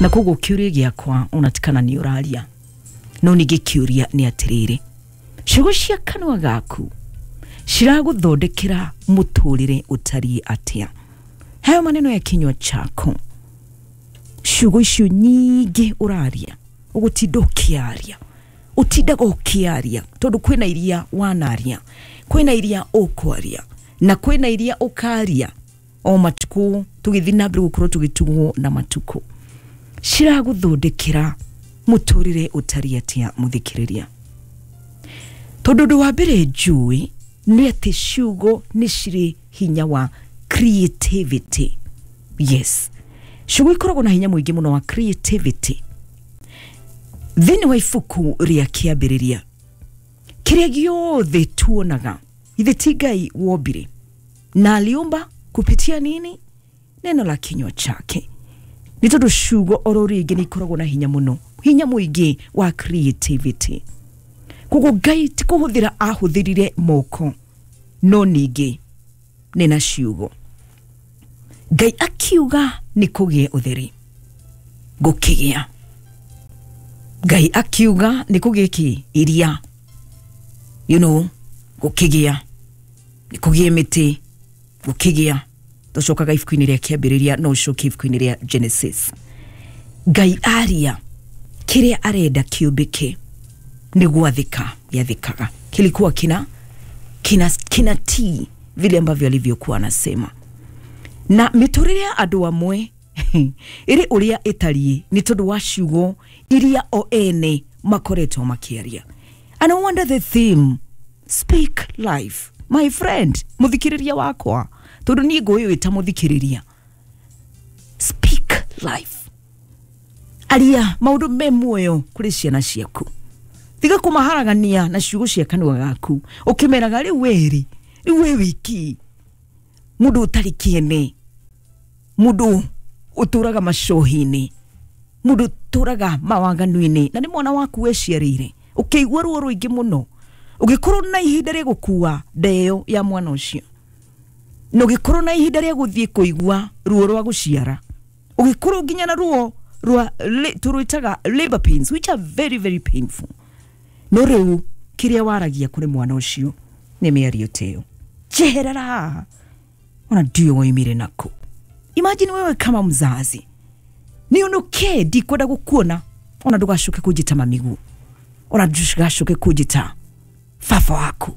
Na koguo kĩũria gĩakwa onatikana nĩ ũraria, no ningĩ kĩũria nĩ atĩrĩrĩ, ciugo cia kanua gaku ciragũthondekera mũtũrĩre ũtariĩ atĩa? Hayo maneno ya kinywa chako, ciugo icio nyingĩ ũraria, ũgũtinda ũkĩaria, ũtindaga ũkĩaria tondũ kwĩna iria wanaria, kwĩna iria ũkwaria, na kwĩna iria ũkaria o matukũ tũgĩthiĩ na mbere gũkorwo tũgĩtugwo na matukũ. Ciragũthondekera mũtũrĩre ũtariĩ atĩa mũthikĩrĩria? Tondũ ũndũ wa mbere njũĩ nĩ atĩ ciugo nĩ cirĩ hinya wa creativity. Yes, ciugo ikoragwo na hinya mũingĩ mũno wa creativity. Thĩinĩ wa ibuku rĩa kĩambĩrĩria, kĩrĩa gĩothe tuonaga ithe ti Ngai wombire, na aliumba kupitia nini? Neno la kinywa chake. Nĩ tondũ ciugo oro rĩngĩ nĩ ikoragwo na hinya mũno, hinya mũingĩ wa creativity. Koguo Ngai ti kũhũthĩra ahũthĩrire moko, no ningĩ nĩ na ciugo. Ngai akiuga nĩ kũgĩe ũtheri, gũkĩgĩa. Ngai akiuga nĩ kũgĩe kĩ? Iria, you know, gũkĩgĩa. Nĩ kũgĩe mĩtĩ, gũkĩgĩa. Tũcokaga ibuku-inĩ rĩa kĩambĩrĩria, no ũcoke ibuku-inĩ rĩa Genesis. Ngai aria kĩrĩa arenda kĩũmbĩke nĩ gwathĩka gĩathĩkaga, kilikuwa kina kina kinatii vile ambavyo alivyokuwa anasema. Na mĩtũrĩre ya andũ amwe ĩrĩ ũrĩa ĩtariĩ nĩ tondũ wa ciugo iria o ene makoretwo makĩaria. And I wonder the theme, speak life, my friend, mũthikĩrĩria wakwa, tondũ niĩ ngũĩ ta mũthikĩrĩria. Speak life, aria maũndũ me muoyo kũrĩ ciana ciaku. Tiga kũmaharagania na ciugo cia kanua gaku ũkĩmeraga rĩu wĩrĩ, rĩu wĩ wiki, mũndũ ũtarĩ kĩene, mũndũ ũtũraga macohi-inĩ, mũndũ ũtũraga mawaganu-inĩ, na nĩ mwana waku weciarĩire, ũkĩigua ruo rũingĩ mũno, ũgĩkorwo na ihinda rĩa gũkua nda ĩyo ya mwana ũcio, na ũgĩkorwo na ihinda rĩa gũthiĩ kũigua ruo rwa gũciara, ũgĩkorwo nginya na ruo rwa tũrwĩtaga labor pains, which are very very painful. No rĩu kĩrĩa waragia kũrĩ mwana ũcio nĩ mĩario ta ĩyo, njeherera haha, ona ndiũĩ woimire nakũ. Imagine wewe kama mzazi, nionuke, ndikwenda gũkuona, ona ndũgacoke kũnjĩta mamigu, ona ndũgacoke kũnjĩta baba waku.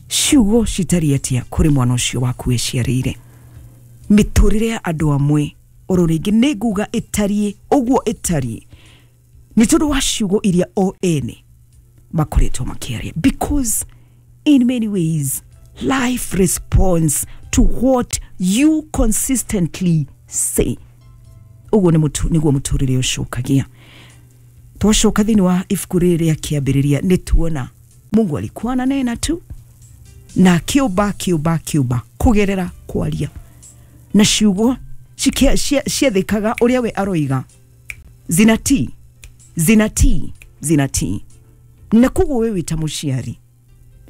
Ciugo citariĩ atĩa kũrĩ mwana ũcio waku wĩciarĩire? Mĩtũrĩre ya andũ amwe oro rĩngĩ nĩ nguga ĩtariĩ ũguo ĩtariĩ nĩ tondũ wa ciugo iria o ene makoretwo makĩaria, because in many ways life responds to what you consistently say. Ũguo nĩguo mũtũrĩre ũcokagia. Twacoka thĩinĩ wa ibuku rĩrĩ rĩa kĩambĩrĩria nĩ tuona Mungu alikuwa ananena tu na akĩũmba akĩũmba akĩũmba kũgerera kwaria, na ciugo ciathĩkaga ũrĩa we aroiga, zinatii, zinatii, zinatii. Na koguo we wĩ ta mũciari,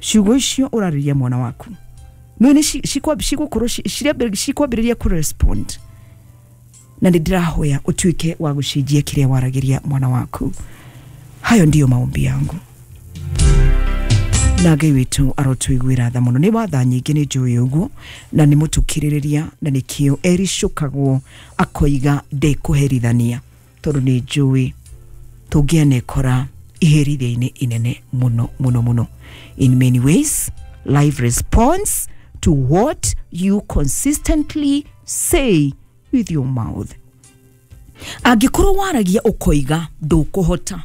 ciugo icio ũrarĩria mwana waku nĩ cigũkorwo cikwambĩrĩria kũrespond, na nĩ ndĩrahoya ũtuĩke wa gũcenjia kĩrĩa waragĩria mwana waku. Hayo ndiyo maombi yangu, na Ngai witũ arotũiguĩra tha mũno. Nĩ watha nyingĩ nĩ njũĩ ũguo, na nĩ mũtũkirĩrĩria, na nĩkĩo ericũkagwo akoiga ndekũherithania, tondũ nĩ njũĩ tũngĩanekora iherithia-inĩ inene mũno mũno mũno. In many ways life responds to what you consistently say with your mouth. Angĩkorwo waragia ũkoiga ndũkũhota,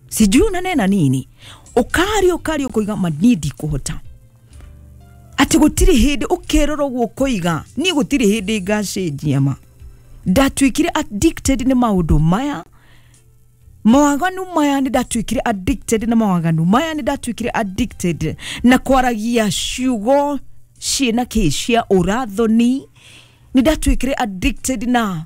sijui unanena nini, ũkaria ũkaria ũkoiga ma niĩ ndikũhota, atĩ gũtirĩ hĩndĩ ũkerora ũguo ũkoiga niĩ gũtirĩ hĩndĩ ngacenjia, ma ndatuĩkire addicted nĩ maũndũ maya, mawaganu maya, nĩ ndatuĩkire addicted na mawaganu maya, nĩ ndatuĩkire addicted na kwaragia ciugo ciĩna kĩ cia ũrathoni, nĩ ndatuĩkire addicted na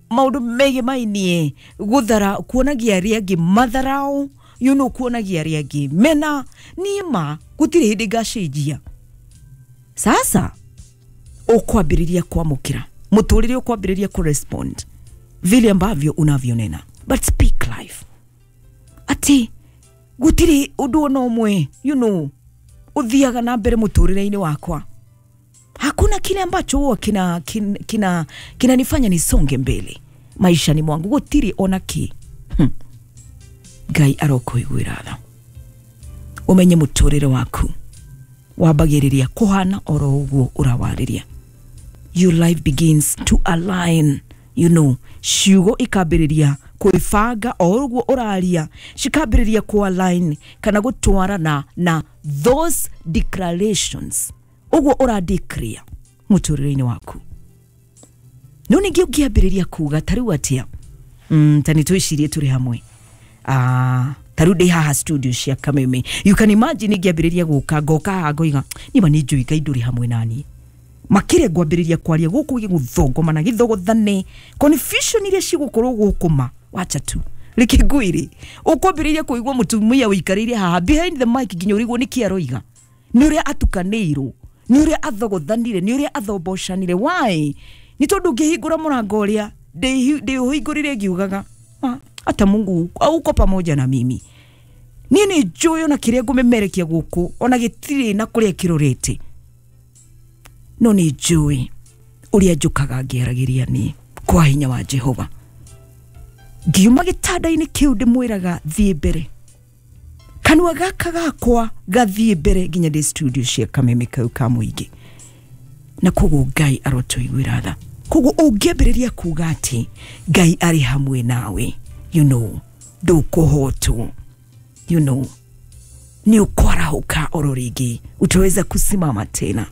maũndũ megiĩ mainie gũthara, kuonagia arĩa angĩ matharau, you know, kuonagia arĩa angĩ mena niĩ ma gũtirĩ hĩndĩ ngacenjia. Sasa ũkwambĩrĩria kwamũkĩra mũtũrĩre, ũkwambĩrĩria kũrespond vile ambavyo unavyonena, but speak life. Ati gutiri undu ona umwe, you know, uthiaga na mbere muturire-ini wakwa. Hakuna kile ambacho huwa kinanifanya nisonge mbele maisha ni mwangu, gutiri ona ki. Ngai arokuiguira tha, umenye muturire waku wambagiriria kuhana oro uguo urawariria. Your life begins to align, you know, ciugo ikambiriria kwibanga o uguo uraria, cikambiriria ku align kana gutwarana na those declarations uguo ura declare muturire-ini waku. No ningi ungiambiriria kuga tariu atia, tani twicirie turi hamwe, taru ndi haha studio cia Kameme. You can imagine ngiambiriria guka ngoka haha ngoiga nima ni njui Ngai nduri hamwe nani, makire ngwambiriria kwaria guku giguthongomana githogothane confusion iria cigukorwo gukuma wacha tu reke ngwire ukwambiriria kuigua mutumia wikarire haha behind the mic nginya urigwo niki aroiga, ni uria atukanirwo, ni uria athogothanire, ni uria athombocanire. Why? Ni tondu ngihingura murango uria ndiuhingurire ngiugaga ata Mungu auko pamoja na mimi, ni ni njuyo na kiria ngumemerekia guku ona gitiri na kuria kirorete, no ni njui uria njukaga ngiaragiria ni kwa hinya wa Jehova. Ngiuma gitanda-ini kiu ndimwiraga thie mbere, kanua gaka gakwa gathie mbere nginya ndi studio cia Kameme kau ka muingi. Na koguo Ngai arotuiguira tha. Koguo ungiambiriria kuga ati Ngai ari hamwe nawe, you know, ndukuhotwo, you know, ni ukwarahuka oro ringi, utaweza kusimama tena,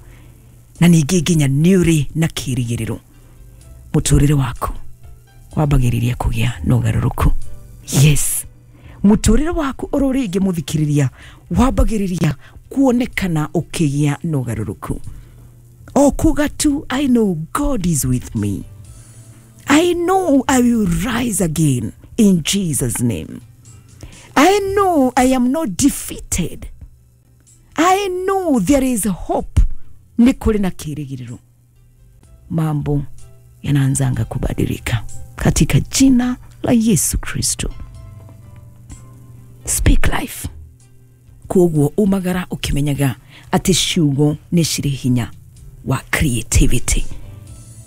na ningi nginya niuri na kirigiriro muturire waku wambagiriria kugia na ugaruruku. Yes, muturire waku oro ringi muthikiriria wambagiriria kuonekana ukigia na ugaruruku. O kuga tu, I know God is with me, I know I will rise again in Jesus' name. I know I am not defeated. I know there is hope. Ni kuri na kirigiriro. Mambo yanaanzanga kubadilika katika jina la Yesu Kristo. Speak life. Koguo umagara ukimenyaga ati ciugo ni ciri hinya wa creativity.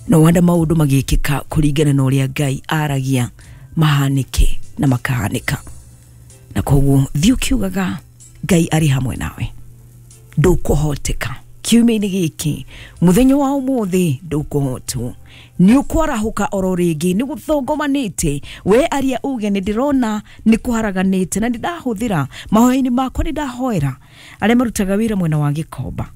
No wanda maundu magikika kuringana na uria Ngai aragia mahanike na makahanika. Na koguo thiĩ ũkiugaga Ngai ari hamwe nawe, ndũkũhoteka kiumia-inĩ gĩkĩ, mũthenya wa ũmũthĩ ndũkũhotwo, nĩ ũkwarahuka oro rĩngĩ, nĩ gũthongomanĩte we aria uge nĩ ndĩrona nĩ kũharaganĩte, na nĩ ndahũthĩra mahoya-inĩ makwa, nĩ ndahoera arĩa marutaga wĩra mwena wa Gĩkomba,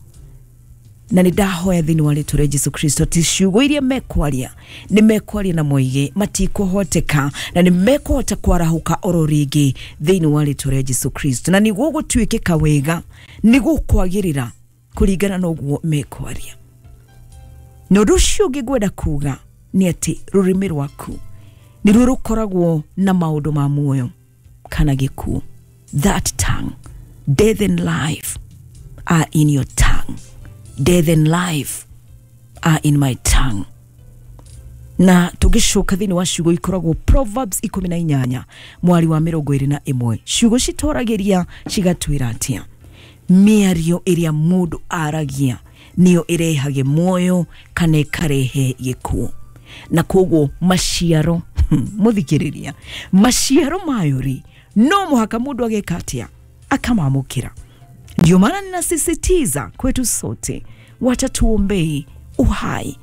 na nĩ ndahoya thĩinĩ wa rĩtwa rĩa Jesu Kristo ati ciugo iria mekwaria nĩ mekwaria na moige matikũhoteka, na nĩ mekũhota kwarahuka oro rĩngĩ thĩinĩ wa rĩtwa rĩa Jesu Kristo, na nĩ gũgũtuĩkĩka wega, nĩ gũkwagĩrĩra kũringana na ũguo mekwaria. Na ũndũ ũcio ũngĩ ngwenda kuga nĩ atĩ rũrĩmĩ rwaku nĩruo rũkoragwo na maũndũ ma muoyo kana gĩkuũ. That tongue, death and life are in your tongue. Death and life are in my tongue. Na tũgĩcoka thĩinĩ wa ciugo ikoragwo Proverbs 18 mwari wa 21, ciugo citoragĩria cigatwĩra atĩa? Mĩario ĩrĩa mũndũ aragia nĩyo ĩrehage muoyo kana ĩkarehe gĩkuũ. Na koguo maciaro mũthikĩrĩria, maciaro mayo rĩ, no mũhaka mũndũ ageka atĩa? Akamamũkĩra. Ndio maana ninasisitiza kwetu sote, wacha tuombei uhai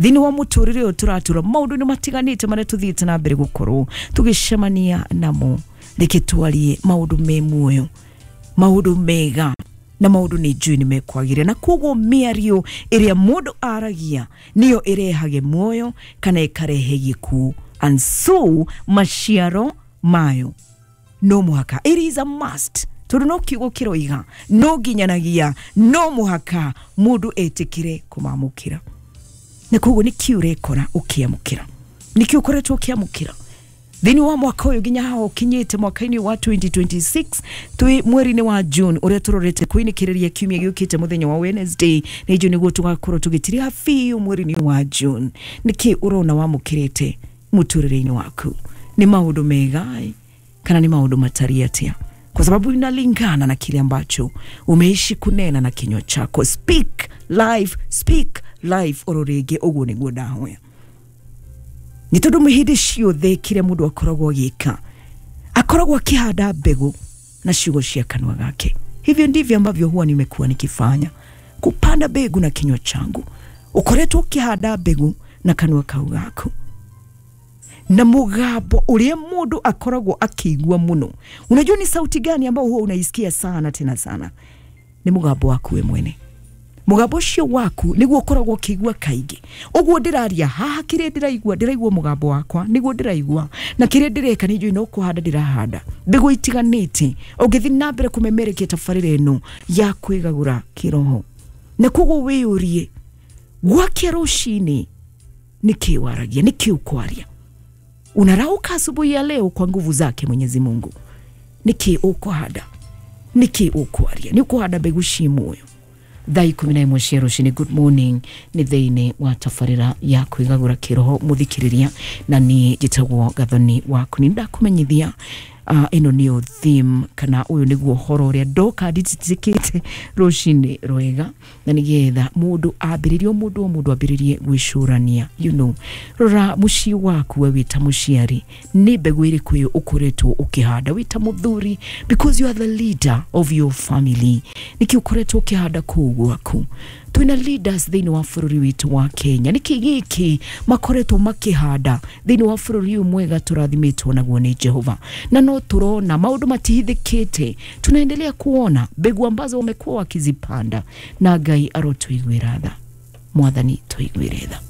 thĩinĩ wa mũtũrĩre ũyũ tũratũra. Maũndũ nĩ matiganĩte marĩa tũthiĩte na mbere gũkorwo tũgĩcemania namo, reke twarie maũndũ me muoyo, maũndũ mega, na maũndũ nĩ njũĩ nĩ mekwagĩrĩra. Na koguo mĩario ĩrĩa mũndũ aragia nĩyo ĩrehage muoyo kana ĩkarehe gĩkuũ, and so maciaro mayo no mũhaka, it is a must, tondũ no kiugo kĩroiga no nginyanagia no mũhaka mũndũ etĩkĩre kũmamũkĩra. Na koguo nĩkĩ ũrekora ũkĩamũkĩra, nĩkĩ ũkoretwo ũkĩamũkĩra thĩinĩ wa mwaka ũyũ nginya haha ũkinyĩte mwaka-inĩ wa 2026, twĩ mweri-inĩ wa June ũrĩa tũrorete kwinĩkĩrĩria kiumia gĩũkĩte mũthenya wa Wednesday, nĩ njũĩ nĩguo tũgakorwo tũgĩtiriha biũ mweri-inĩ wa June. Nĩkĩ ũrona wamũkĩrĩte Mũtũrĩre-inĩ waku nĩ maũndũ mega kana nĩ maũndũ matari atia? Kwa sababu inalingana na kile ambacho umeishi kunena na kinywa chako. Speak life, speak life oro rĩngĩ ũguo nĩguo ndahoya. Nĩ tondũ hĩndĩ ciothe kĩrĩa mũndũ akoragwo agĩka, akoragwo akĩhanda mbegũ na ciugo cia kanua gake. Hivyo ndivyo ambavyo huwa nimekuwa nikifanya, kupanda mbegu na kinywa changu. Ukoretwo ukihanda mbegu na kanua kau gaku na mugambo uria mundu akoragwo akiigua muno. Unajua ni sauti gani ambayo huwa unaisikia sana tena sana? Ni mugambo waku we mwene. Mugambo ucio waku niguo ukoragwo ukiigua kaingĩ. Ũguo ndĩraria haha, kĩrĩa ndĩraigua, ndĩraigua mũgambo wakwa niguo ndĩraigua, na kĩrĩa ndĩreka nĩ njũĩ no kũhanda ndĩrahanda mbegũ itiganĩte. Ũngĩthiĩ na mbere kũmemerekia tabarĩra ĩno ya kwĩgagũra kĩroho, na koguo wĩyũrie gwakia rũcinĩ nĩkĩ waragia, nĩkĩ ũkwaria. Unarauka asubuhi ya leo kwa nguvu zake Mwenyezi Mungu, nĩkĩ ũkũhanda, nĩkĩ ũkwaria, nĩ ũkũhanda mbegũ ci muoyo. Thaa 11 cia rũcinĩ, good morning, nĩ thĩinĩ wa tabarĩra ya kwĩgagũra kĩroho mũthikĩrĩria, na niĩ njĩtagwo Gathoni waku. Nĩ ndakũmenyithia ĩno nĩyo theme, kana ũyũ nĩguo ũhoro ũrĩa ndoka ndititikĩte rũcinĩ rwega, na nĩgetha mũndũ ambĩrĩrie, o mũndũ o mũndũ ambĩrĩrie gwĩcũrania. You know, rora mũciĩ waku we wĩta mũciari, nĩ mbegũ ĩrĩkũ ĩyo ũkoretwo ũkĩhanda wĩta mũthuri, because you are the leader of your family. Nĩkĩ ũkoretwo ũkĩhanda kũu gwaku? Twĩna leaders thĩinĩ wa bũrũri witũ wa Kenya, nĩkĩ gĩkĩ makoretwo makĩhanda thĩinĩ wa bũrũri ũyũ mwega tũrathimĩtwo naguo nĩ Jehova? Na no tũrona maũndũ matihithĩkĩte, tunaendelea kuona mbegu ambazo wamekuwa wakizipanda, na Ngai arotũiguĩra tha. Mwathani tũiguĩre tha.